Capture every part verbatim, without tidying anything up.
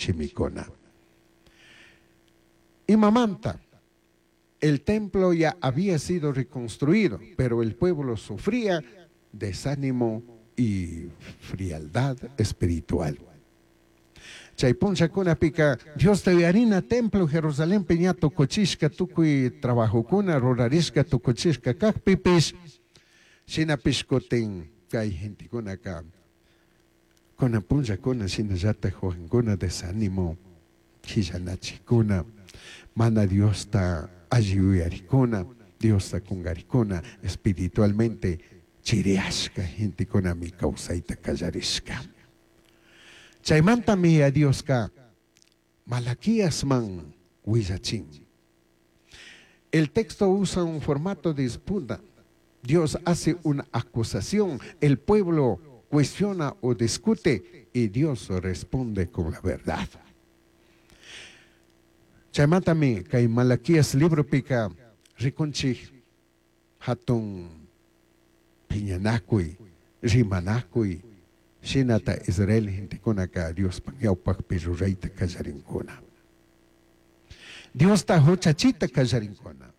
Shimicuna. Imamanta. El templo ya había sido reconstruido, pero el pueblo sufría desánimo y frialdad espiritual. Chay punllakunapika Diosta yuyarina templo Jerusalenpi ña tukuchishka tukuy trabajokuna rurarishka tukuchishka kajpipish shinapish kutin kay gentekunaka kunan punllakuna shinallataj wakinkuna desánimo quillanachikuna mana Diosta alli yuyarikuna Diosta kungarikuna espiritualmente chiriyashka gentekunami kawsayta kallarishka. Chaymantami a Dioska Malaquíasman willachin. El texto usa un formato de disputa. Dios hace una acusación, el pueblo cuestiona o discute y Dios responde con la verdad. Chaymantami kay Malaquías libropika rikunchik hatun piñanakuy, rimanakuy, shinata Israel gentekunaka Diospaj ñawpakpi rurayta kallarinkuna. Diosta huchachita kallarinkuna.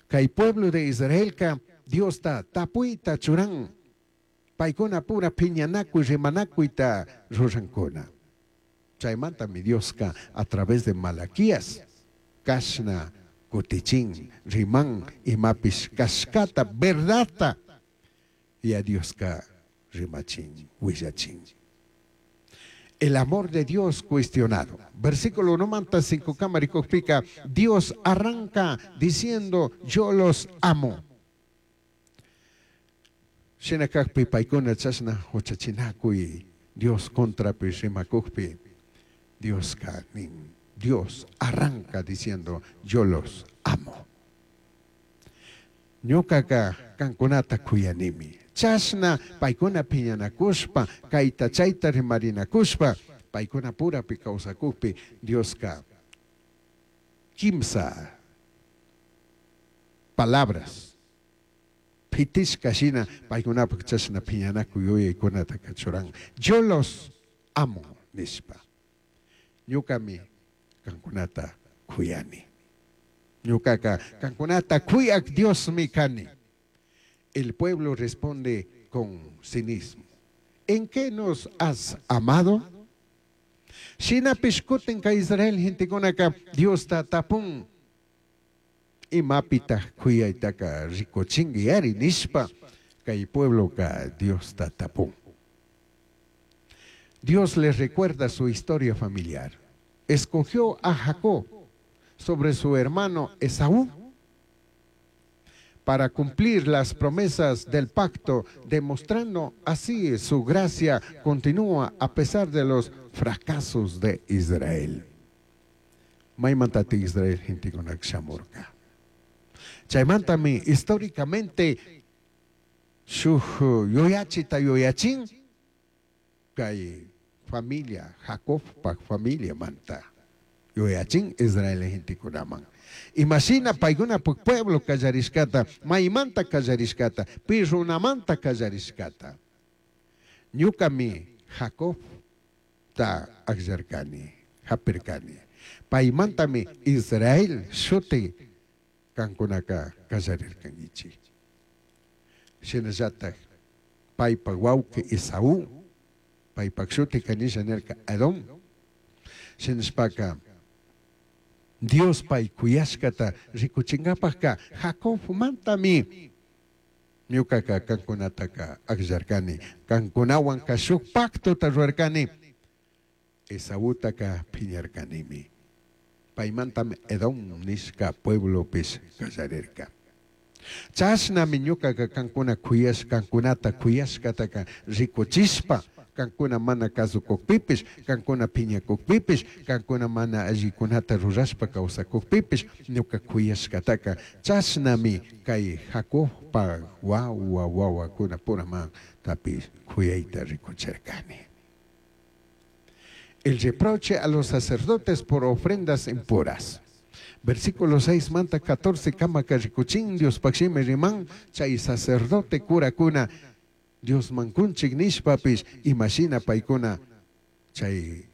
Kay pueblo de Israelka Diosta tapuyta churan, paykuna pura piñanakuy rimanakuyta rurankuna. Chaymantami Dioska a través de Malaquías kashna kutichin riman imapish kashkata verdadta y a Dioska rimachin willachin. El amor de Dios cuestionado. Versículo uno manta cinco kamarikojpika, Dios arranca diciendo yo los amo. Shinakajpi paykuna chashna huchachinakuy Dios contrapi rimakujpi Dioska nin. Dios arranca diciendo yo los amo. Ñukaka kankunata kuyanimi. Chashna paykuna piñanakushpa kayta chayta rimarinakushpa paykuna purapi kawsakukpi Dioska kimsa palabras pitishka shina paykunapak chashna piñanakuy yuyaykunata kachuran. Yo los amo nishpa. Ñukami kankunata kuyani. Ñukaka kankunata kuyak Diosmi kani. El pueblo responde con cinismo. ¿En qué nos has amado? Shinapish kutin ka Israel gentekunaka Diosta tapun. Imapita kuyaytaka rikuchinki ari nishpa kay puebloka Diosta tapun. Dios les recuerda su historia familiar. Escogió a Jacob sobre su hermano Esaú para cumplir las promesas del pacto, demostrando así su gracia continúa a pesar de los fracasos de Israel. Maymantati Israel gentekunak shamurka. Chaymantami históricamente shuj yuyachita yuyachin kay familia Jacobpak familia manta yuyachin Israel gentekunaman. Imashina paykunapak pueblo kallarishkata, maymanta kallarishkata, pi runamanta kallarishkata. Ñukami Jacobta akllarkani, hapirkani. Paymantami Israel shuti kankunaka kallarirkankichik. Shinallatak paypak wawqi Esaú, paypak shuti kanisha nirka Edom. Shinashpaka Dios pay kuyashkata rikuchinkapakka Jacobmantami ñukaka kankunataka akllarkani, kankunawanka shuk pactota rurarkani, Esaútaka piñarkanimi. Paymantami Edom nishka pueblopish kallarirka. Chashnami ñukaka kankuna kuyash, kankunata kuyashkataka rikuchishpa, kankuna mana kasukukpipish, kankuna piñakukpipish, kankuna mana allikunata rurashpa kawsakukpipish, ñuka kuyashkataka chashnami kay Jacobpa wawa wawakuna puraman tapish kuyayta rikuchirkani. El reproche a los sacerdotes por ofrendas impuras. Versículo seis manta catorce kamaka rikuchin Dios pakshimi riman chay sacerdote kurakuna Dios mankunchik nishpapish imashina paykuna chay